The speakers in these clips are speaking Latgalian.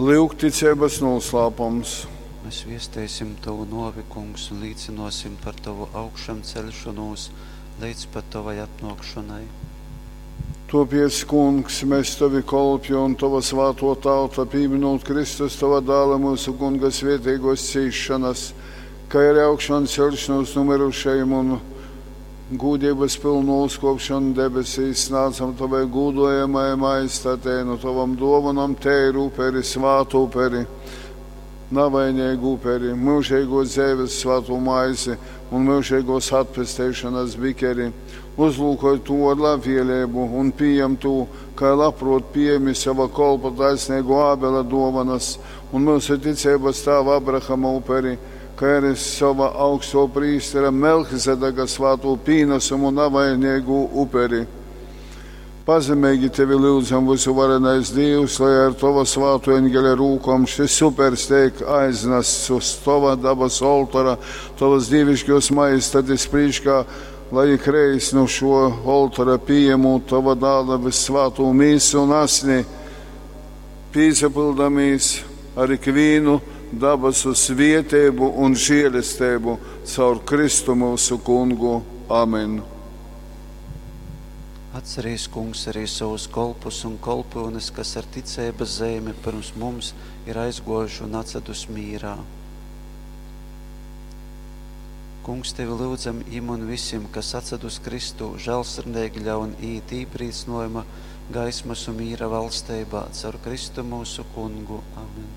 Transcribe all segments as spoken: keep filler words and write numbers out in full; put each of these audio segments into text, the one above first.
Lyugticeibas nūslāpums. Mēs viesteisim tovu nōvi, Kungs, un līcynōsim par tovu augšamceļšonūs leidz pat tovai atnōkšonai. Tōpēc, Kungs, mes tovi kolpi un tova svātō tauta, pīminūt Kristus tova dāla myusu Kunga svēteigōs cīsšonas, kai arī augšanceļšanos nu myrušajim un gūdeibas pylnu uzkōpšonu debesīs, snādzam tovai gūdojamai majestatei nu tovom dōvonom teiru uperi, svātu uperi, navaineigu uperi, myužeigōs dzeives svātū maizi un myužeigōs atpesteišonas bikeri. Uzlūkoj tū ar labvēlību un pījem tū, kai labprōt pījemi sova kolpa taisneigo Ābela dōvanas un myusu ticeibas tāva Abrahama uperi, kai arī sova augsto prīstera Melchizedeka svātū pīnesumu navainīgū uperi. Pazemeigi tevi lyudzam, vysuvarenais Dīvs, lai ar tova svāto eņgeļa rūkom šis upers teik aiznasts uz tova dabas oltora, tovas dīviškos majestatis prīškā, lai ikreiz nu šo oltora pījemūt tova dāla vissvātū mīsu un asni, pīsapildamīs ar ikvīnu dabasu svieteibu un žēlesteibu caur Kristu myusu Kungu. Amen. Atcerīs, Kungs, arī savus kolpus un kolpyunes, kas ar ticeibas zeimi pirms mums ir aizgōjuši un atsadus mīrā. Kungs, tevi lyudzam jim un visim, kas atsadus Kristū, žēlsirdīgi ļaun iet īprīcynojuma, gaismas un mīra valsteibā, caur Kristu mūsu Kungu. Amen.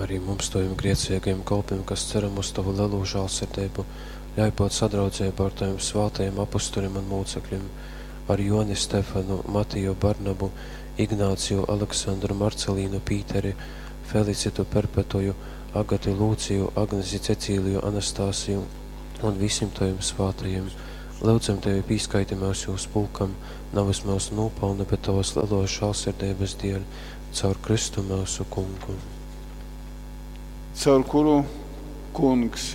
Arī mums, taviem grēcīgajiem kolpiem, kas ceram uz tavu lielo žēlsirdību, ļauj būt sadraudzībā ar taviem svētajiem apustuļiem un mūcekļiem, ar Joni Stefanu, Matiju Barnabu, Ignāciju, Aleksandru, Marcelīnu, Pīteri, Felicitu Perpetuju, Agati Lūciju, Agnesi Cecīliju, Anastāsiju un visiem taviem svētajiem. Lūdzam tevi, pīskaiti mūs jūs pulkam, nevis mūsu nopelnu, bet tavas lielos žēlsirdības dēļ, caur Kristu mūsu Kungu. Caur kuru, Kungs,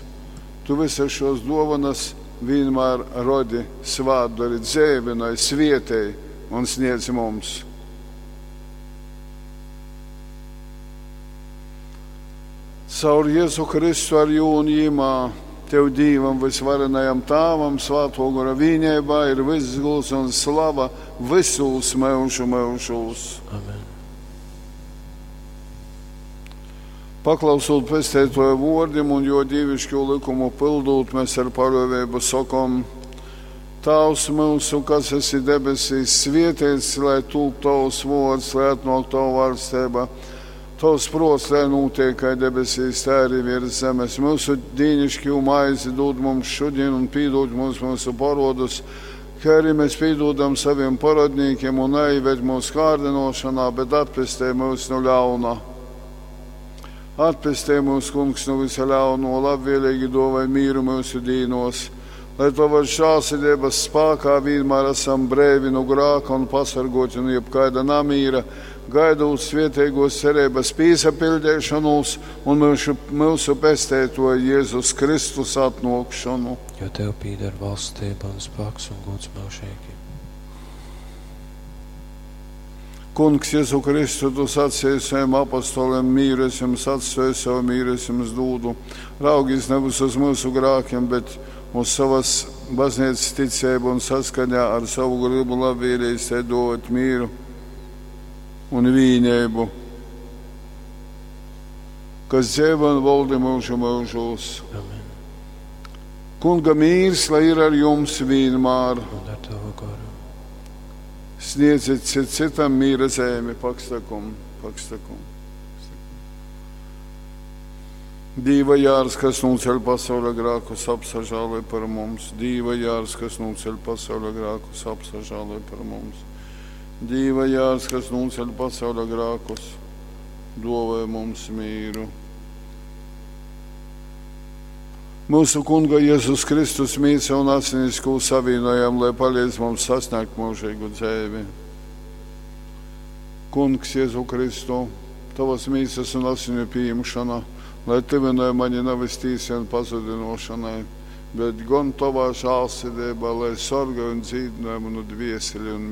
tu visas šos dovanas vienmēr rodi, svātdari, dzēvinai, svietēji un sniedz mums. Caur Jēzu Kristu ar jū un jimā, tev Dīvam vysvarenajam Tāvam, Svāto Gora vīnībā ir viss gūds un slava visūs myužu myužūs. Amen. Paklausot pesteitoja vōrdim un jo dīvišķo likumu pildūt, mēs ar paļāvību sakom: Tēvs mūsu, kas esi debesīs, svētīts, lai tūp tavs vārds, lai atnāk tava valstība. Tavs prāts, lai notiek kā debesīs, tā arī virs zemes. Mūsu dīnišķo maizi dod mums šodien un pīdod mums mūsu parodus, kā arī mēs pīdodam saviem parodniekiem un neieved mūsu kārdinošanā, bet atpestē mūs no ļauna. Atpestē mūs, Kungs, no visa ļauno, labvēlīgi dāvāj mīru mūsu dīnos, lai tavas žēlsirdības spēkā vienmēr esam brēvi no grāka un pasargoti no jebkaida namīra, gaidot svētīgos cerības pīsapildīšanos un mūsu, mūsu pestētoja Jēzus Kristus atnākšanu. Jo tev pīder valstība un spēks un gods mūžīgi. Kungs, Jēzu Kristu, tu sacīji saviem apostoliem, mīru es jums atstāju, savu mīru es jums dūdu. Raugīs nevis uz mūsu grākiem, bet uz savas baznīcas ticību un saskaņā ar savu gribu labvēlīgi te dot mīru un vīnību, kas dzīvo un valdi mūžu mūžos. Amen. Kunga mīrs, lai ir ar jums vienmēr. Un ar tavu goru. Sniedziet cit citam mīra zemi, pakstakum, pakstakum. Dīva jārs, kas nūceļ pasaules grākus, apsažāloj par mums. Dīva jārs, kas nūceļ pasaules grākus, apsažāloj par mums. Dīva jārs, kas nūceļ pasaules grākus, dāvāj mums mīru. Mūsu Kunga Jēzus Kristus mīsa un asinis, ko savienojam, lai palīdz mums sasniegt mūžīgu dzīvi. Kungs Jēzu Kristu, tavas mīsas un asiņu pieņemšana, lai tuvināja mani nevis tīsi un pazudinošanai, bet gan tavā žēlsirdībā, lai sargāj un dzīdināja manu dvieseli un